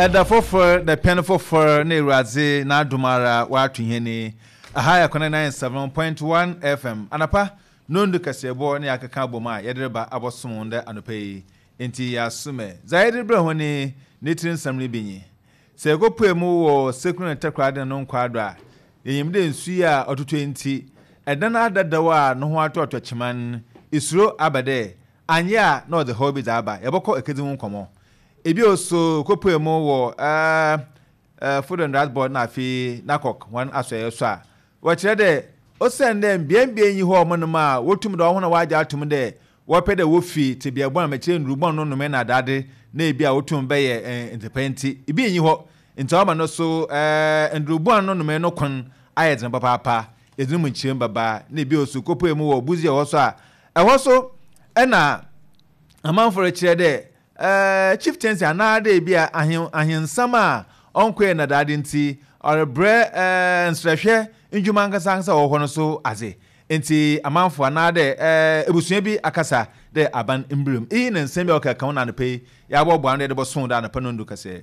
Ɛda fofor, dapɛn fofor na Ewuradze n'adom ara ɔato hɛn yi. Aha yɛ Kwana 97.1 FM. Anapa nondu kaseɛbɔ na yɛakeka abɔ mu a yɛdze reba abɔsom wo ndɛ anɔpa yi. Ntsi yɛasom ɛ. Dza yɛdze rebrɛ hɔn yi ne tsir nsɛm no bi nye, Sɛ yɛkɔpue mu wɔ Sekuru na Takoradi no nkwaa do a, yenyim dɛ nsu yi a ɔtotɔ yi ntsi, dan adadaw a no ho atɔɔtɔ kyema no, isuro aba dɛ annyɛ a na ɔdze haw bi dze aba. Yɛbɔkɔ ekedzi ho nkɔmbɔ. Bio so, yɛkɔpue mu wɔ Food and Drugs Board na afei NACOC hɔn asoɛe so a, wɔkyerɛ dɛ osiandɛ mbeambea nnyi hɔ hɔnom a wotum dɛ hɔn a wɔagye ato mu dɛ wɔpɛ dɛ wofi tsebea bɔn a mekyerɛ ndur bɔn no nomee na adaade na bi a wotum bɛyɛ ndzepɛ ntsi, bi nnyi hɔ. Ntsi ɔama no so ndur bɔn no nomee no kwan ayɛ dzen papaapa. Yɛdze no mu nkyerɛmu bɛba. Na bio so, kopue mu wɔ Busia hɔ so a, ɛhɔ so na amamfo rekyerɛ dɛ Chieftaincy anaadɛ bi a ahen ahensɛm a ɔnnkɔɛ ndadaada ntsi, ɔrebrɛ nserɛhwɛ ndwuma ankasa ankasa a ɔwɔ hɔ no so adze. Ntsi amamfo anaadɛ ebusua bi akasa dɛ aban mbra mu. Iyi na nsɛm bi a ɔkɛkã ho na anapa yi yɛaboaboa ano dɛ yɛdze bɔsõ dɛ anapa no ndu kɛsɛ.